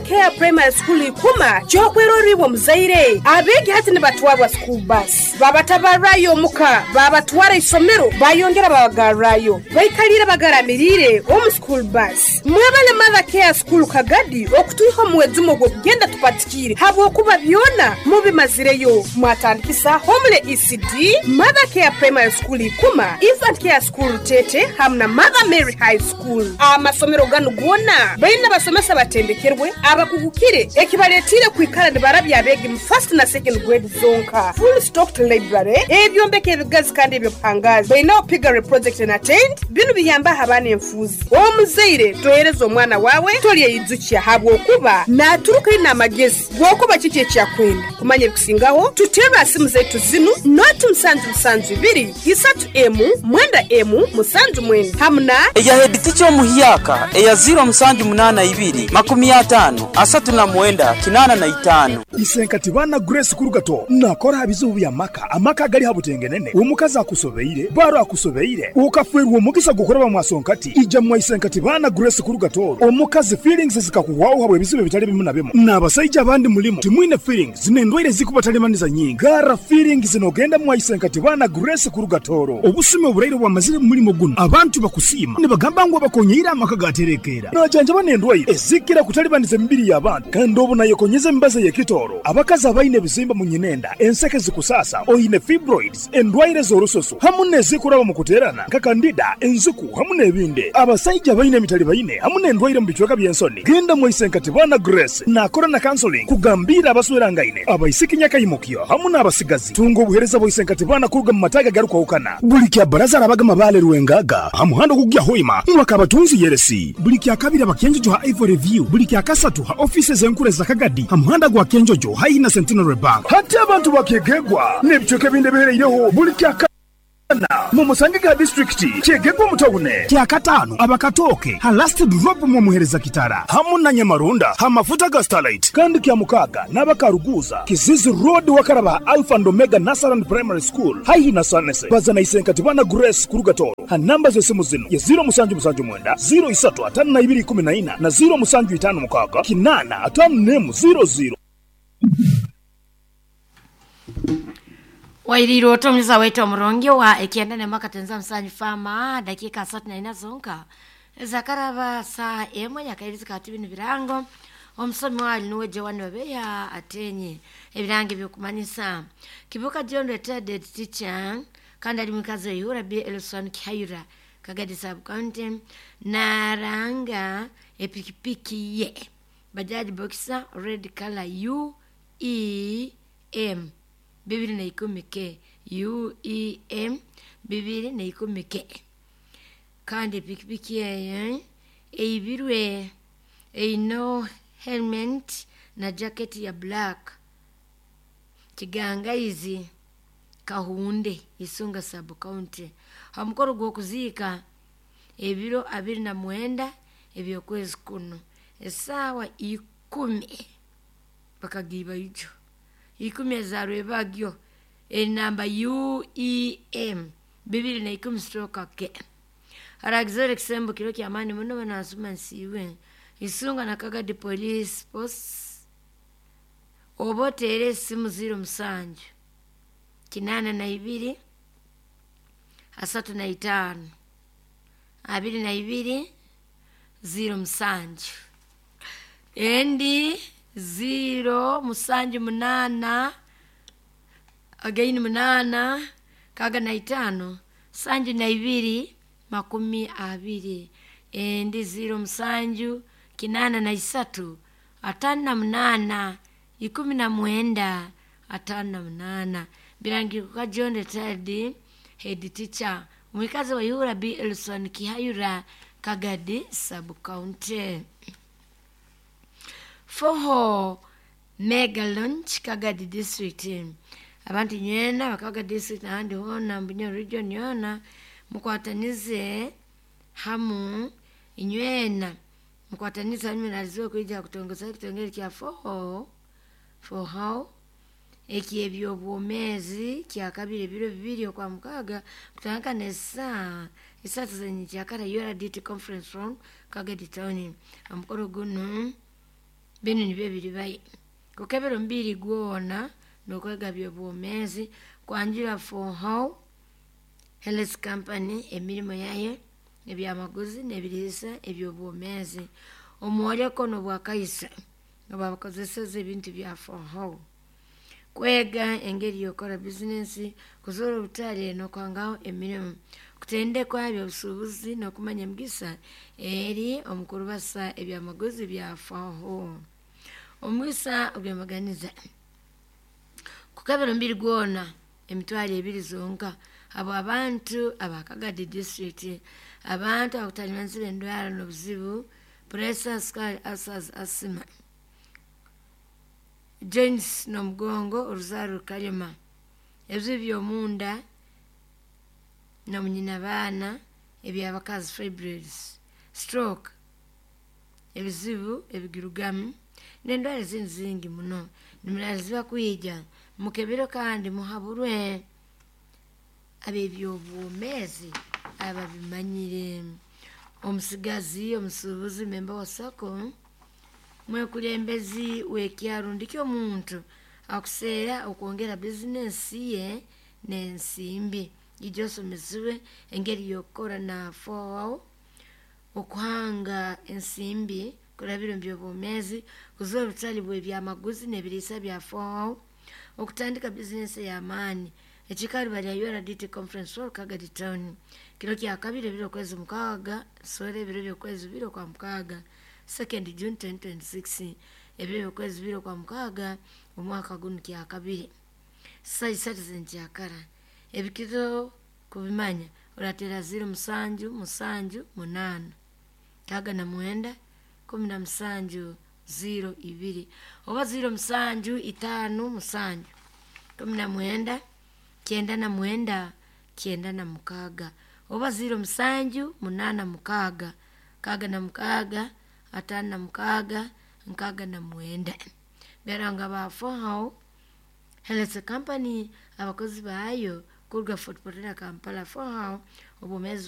Care Primary School Ikuma ky'okwerorra iwe omuzaire. Abeegi hati nibatwarwa school bus, babatabarrayo omuka, babatwara isomero, bayongera babagarrayo. Baikaliire bagaramiriire omu school bus. Mwebale Mother Care School Kagadi okutwiha omu mwejumo gw'okugenda tupatikiire habwokuba byona mubimazireyo. Mwatandikisa Homely ECD, Mother Care Primary School Ikuma, Infant Care School Rutete hamu na Mother Mary High School. Amasomero ganu goona baine abasomesa abatendekerwe, abakugukire ekibaletiire kwikara nibarabya abeegi mu first na second grade zonka. Full stocked library, ebyombeko ebigazi kandi eby'obuhangaazi. Bainaho piggery project and attend. Binu biyambaho abaana enfuuzi. Omuzaire tohereza omwana waawe tolyeyijukya habwokuba naaturuka aine amagezi g'okuba kiki eki akwenda. Kumanya ebikusingaho, tuterre ha simu zaitu zinu, noti musanju musanju ibiri, isatu emu, mwenda emu, musanju mwenda hamu na. Eya heditica omuhyaka eya ziiro musanju munaana ibiri, makumi ataano, asatu na mwenda, kinaana na itaano. Isenkati baana Grace Kurugato nakora ha bizibu by'amaka, amaka agali ha butengenene, omukazi akusobeire, baro akusobeire, okafwerwa omugisa gw'okuraba mwasonkati, ija mwa Isenkati baana Grace Kurugato, omukazi feelings zikakuhwaho habw'ebizibu ebitali bimu na bimu, n'abasaija abandi mulimu timwine feelings n'endwaire ezikubatalibaniza nyingi, garra feelings nogenda mwa Isenkati baana Grace Kurugatoro. Obusumi oburaire obwamazire mu mulimo gunu, abantu bakusiima nibagamba ngu abakonyeire amaka gaterekeera. Najanjaba n'endwaire ezikira kutalibaniza emibiri y'abantu kandi obu nayekonyeza emibazi ey'ekitooro. Abakazi abaine ebizimba mu nyinenda, enseke zikusaasa, oine fibroids, endwaire z'orususu hamu n'ezikuraba omu kuteerana nka kandida, enziku hamu n'ebindi. Abasaija abaine emitalibaine hamu n'endwaire omu bicweka by'ensoni, genda mwaise nka Tibana Grace naakora na counseling kugambiira abaswerangaine, abaisiki nyakaimukyo hamu n'abasigazi. Tunga obuheereza bwa Isenkatibana kuruga mu mataagi agarukwahukana. Buli kya Bbaraza arabaga Mabaale Rwengaga ha muhanda ogukugya Hoima Rwakabatunzi Yeresi. Buli kya Kabiri aba Kyenjojo ha Ivory View. Buli kya Kasatu ha ofiisi ez'enkuru eza Kagadi ha muhanda gwa Kyenjojo haihi na Centenary Bank. Hati abantu ba Kyegegwa n'ebicweka ebindi ebihereireho buli kya Kana mumusange ga disiturikiti Kyegegwa omu tawune. Kya Kataano aba Katooke ha Last Drop mwomuhereza Kitara hamu na Nyamarunda ha mafuta ga Starlight. Kandi kya Mukaaga n'aba Karuguuza, Kizizi Road wakaraba ha Alpha and Omega Nursery and Primary School haihi na Sanese. Baza na Isenkati Bana Grace kuruga Tooro ha namba z'esimu zinu ye ziiro musanju musanju mwenda, ziiro isatu ataano na ibiri ikumi na ina na ziiro musanju itaano mukaaga kinaana ataano n'emu ziiro ziiro. Wairiire ota omuliza waitu omurungi owa ekyenda nemu akatenza musanju faama dakika asatu naina zonka ezakaraba saaha emwe nyakairizi ka tibinu birango omusomi wali nuwe Joan Babeya atenye ebirango ebyokumanyisa Kibuka John retired head teacher kandi ali mwikazi Ihura B Elson Kihayura Kagadi sub county naranga epikipiki ye Bajaj boxer red color UEM 2010 K, UEM 2010 K. Kandi epikipiki eyo eibirwe eine helmet na jacket ya black. Kigangaizi Kahunde Isunga sub county. Ha mukoro gw'okuziika ebiro 29 eby'okwezi kunu esaawa ikumi bakagiiba ijo ikumi eza rwebagyo enamba UEM 2010 stroke K. Haragizore ekisembo kiro ky'amaani muno banasuma nsiiwe Isunga na Kagadi police post oba oteere esimu ziiro musanju kinaana na ibiri asatu na itaano abiri na ibiri ziiro musanju endi ziiro musanju munaana againi munaana kaga na itaano sanju na ibiri makumi abiri endi ziiro musanju kinaana na isatu ataano na munaana ikumi na mwenda ataano na munaana birangirwa John retired head teacher omwikazi wa Ihura B Elson Kihayura Kagadi sub county. Foho Mega Launch Kagadi district abantu nywena bakaga district ahandi hoona Mbunyo region yoona mukwatanize hamu inywena mukwatanize hamu naliziwe kwija kutongoza ekitongere kya Foho Foho eky'ebyobwomeezi kyakabiri ebiro bibiri okwa mukaaga kutandika n'esaaha isatu z'enyikyakara URDT conference room Kagadi town. Omukoro gunu Binu nibyo biribayo. Kukebera omubiri gwona n'okwega by'obwomeezi, kwanjura For How Health Company emirimo yayo, ebyamaguzi n'ebiriisa eby'obwomeezi. Omwoleko n'obwakaiso obabakozeseza ebintu bya For How. Kwega engeri y'okukora bizinesi, kuzoora obutale n'okuhangaho emirimu, kutendekwa eby'obusuubuzi n'okumanya emigisa eri omu kurubasa ebyamaguzi bya For How. Omugisa ogw'embaganiza. Kukebera omubiri gwona 20,000 zonka habw'abantu aba Kagadi district, abantu abakutalibanizibwa endwara n'obuzibu, pressure, sukali, ulcers, asthma, joints n'omugongo, oruzaaro rukalema, ebizibu by'omunda n'omunyinabaana, eby'abakazi fibroids, stroke, ebizibu ebigirugamu n'endwara ezindi zingi muno. Nimuraalizibwa kwija mukebere kandi muhaburwe ab'ebyobwomeezi ababimanyire. Omusigazi, omusuubuzi, memba wa SACCO, mwekulembezi w'ekyaro ndiki omuntu akuseera okwongera bizinesi ye n'ensimbi. Ija osomesibwe engeri y'okukora na For okuhanga ensimbi kurabira omu by'obwomeezi, kuzoora obutale bw'ebyamaguzi n'ebiriisa bya For okutandika bizinesi ey'amaani. Ekiikaro bali ha URDT Conference Hall, Kagadi Town. Kiro kya kabiri ebiro okwezi mukaaga, sore ebiro by'okwezi bibiri okwa mukaaga, 2nd June 2026, ebiro by'okwezi bibiri okwa mukaaga, omwaka gunu kya kabiri. Saa isatu z'enkyakara. Ebikiro kubimanya orateera 0 7 7 8 69 17 02 oba 0 7 5 7 19 99 96 oba 0 7 8 6 66 56 69. Beranga ba For How Health Company abakozi baayo kuruga Fort Portal Kampala. For How obwomeezi.